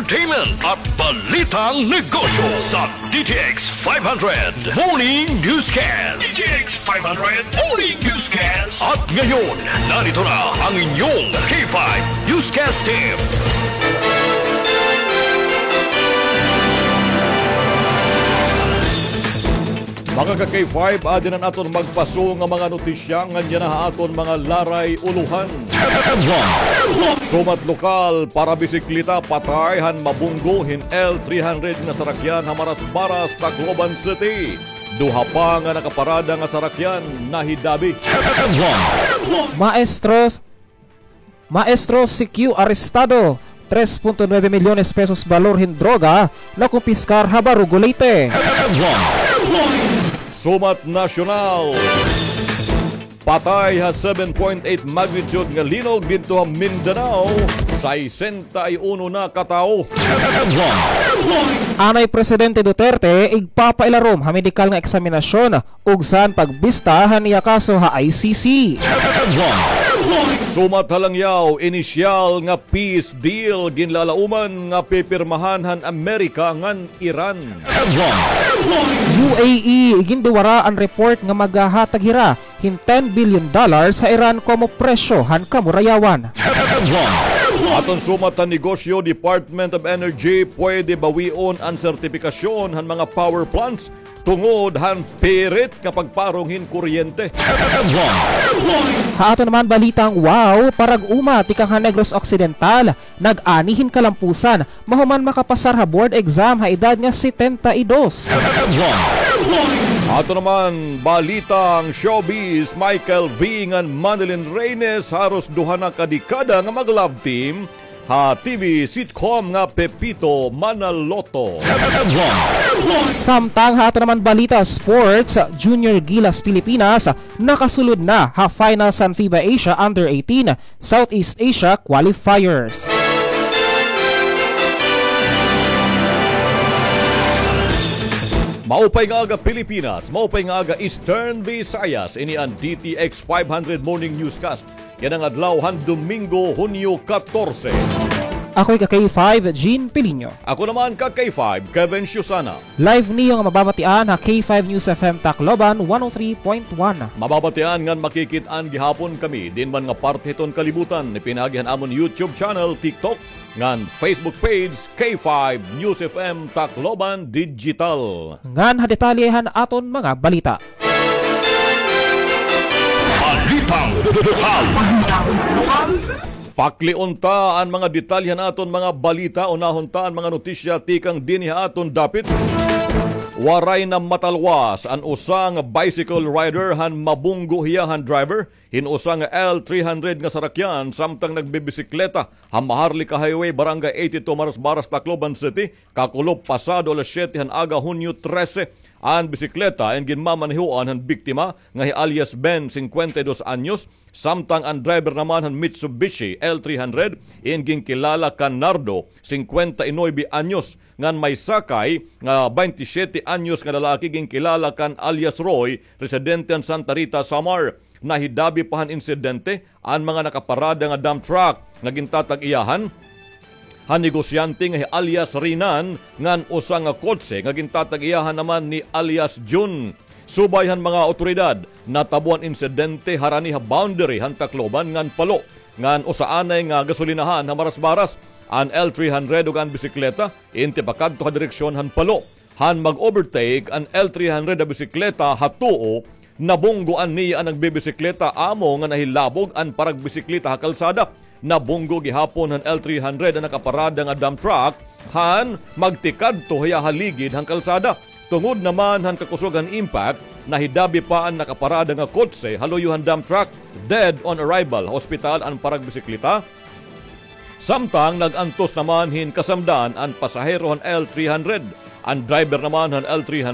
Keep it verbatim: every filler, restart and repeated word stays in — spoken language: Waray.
entertainment at balitang negosyo sa D T X five hundred Morning Newscast. D T X five hundred Morning Newscast. At ngayon, narito na ang inyong K five Newscast Team. Mga ka-K five, adi na an aton magpaso nga mga notisya ngan yana ha aton mga laray ulohan. Sumat lokal, parabisikleta patay han mabunggo hin L three hundred nga sarakyan ha Marasbaras, Tacloban City. Duha pa nga nakaparada nga sarakyan nahidabi. Maestros Maestro C Q arestado, tres punto nuebe milyones pesos balor hin droga nakumpiskar ha Barugo, Leyte. Sumat nasyonal, patay ha seven point eight magnitude nga linog didto ha Mindanao, sesenta y uno na ka tawo. Anay Presidente Duterte igpapailarom ha medikal nga eksaminasyon ug san pagbista han iya kaso ha I C C. Sumat ha langyaw, inisyal nga peace deal ginlalauman nga pipirmahan han Amerika ngan Iran. U A E, iginduwara an report nga maghahatag hira hin ten billion dollars ha Iran komo presyo han kamurayawan. Aton sumat ha negosyo, Department of Energy pwede bawion an sertipikasyon han mga power plants tungod han pirit nga pagparong hin kuryente. Ha aton naman balitang wow, parag-uma tikang ha Negros Occidental, nag-ani hin kalampusan, mahuman makapasar ha board exam ha edad nga setenta y dos. Aton naman balitang showbiz, Michael V ngan Manilyn Reynes, haros duha na ka dekada nga mag-love team, ha T V sitcom nga Pepito Manaloto. Samtang ha aton naman balita sports, Junior Gilas Pilipinas nakasulod na ha finals han FIBA Asia Under eighteen Southeast Asia Qualifiers. Maupay nga aga, Pilipinas. Maupay nga aga, Eastern Visayas. Ini an D T X five hundred Morning Newscast yana nga adlaw han Domingo, Hunyo katorse. Ako hi ka K five, Jean Pilinho. Ako naman ka K five, Kevin Susana. Live niyo nga mababatian ha K five News F M Tacloban one oh three point one. Mababatian ngan makikit-an gihapon kami diin man nga parte hiton kalibutan, pinaagi han amon YouTube channel, TikTok, ngan Facebook page, K five News F M Tacloban Digital. Ngan ha detalye han aton mga balita. Balitang lokal. Paklion ta an mga detalye han aton mga balita. Unahon ta an mga notisya tikang dinhi ha aton dapit. Waray na matalwas an usa nga bicycle rider han mabunggo hiya han driver hin usa nga L three hundred nga sarakyan samtang nagbibisikleta ha Maharlika Highway, Barangay eighty-two, Marasbaras, Tacloban City, kakulop pasado alas siyete han aga, Hunyo trese. An bisikleta in ginmamanehoan han biktima nga hi alias Ben, singkwenta y dos anyos, samtang an driver naman han Mitsubishi L three hundred in ginkilala kan Nardo, singkwenta y nuebe anyos, ngan may sakay nga baynte siyete anyos nga lalaki ginkilala kan alias Roy, residente han Santa Rita, Samar. Nahidabi pa han insidente an mga nakaparada nga dump truck nga gintatag-iyahan han negosyante nga hi alias Rinan ngan usa nga kotse nga gintatag-iyahan naman ni alias Jun. Subay han mga awtoridad, natabo an insidente harani ha boundary han Tacloban ngan Palo, ngan usa anay nga gasolinahan ha Marasbaras. An L three hundred ug an bisikleta in tipakadto ha direksyon han Palo. Han mag-overtake an L three hundred ha bisikleta ha tuo, nabunggoan niya an nagbibisikleta amo nga nahilabog an paragbisikleta ha kalsada. Nabunggo gihapon han L three hundred an nakaparada nga dump truck han magtikadto hiya ha ligid han kalsada. Tungod naman han kakusog han impact, nahidabi pa an nakaparada nga kotse ha luyo han dump truck. Dead on arrival ha ospital an paragbisikleta. Samtang nag-antos naman hin kasamdan an pasahero han L three hundred. An driver naman han L three hundred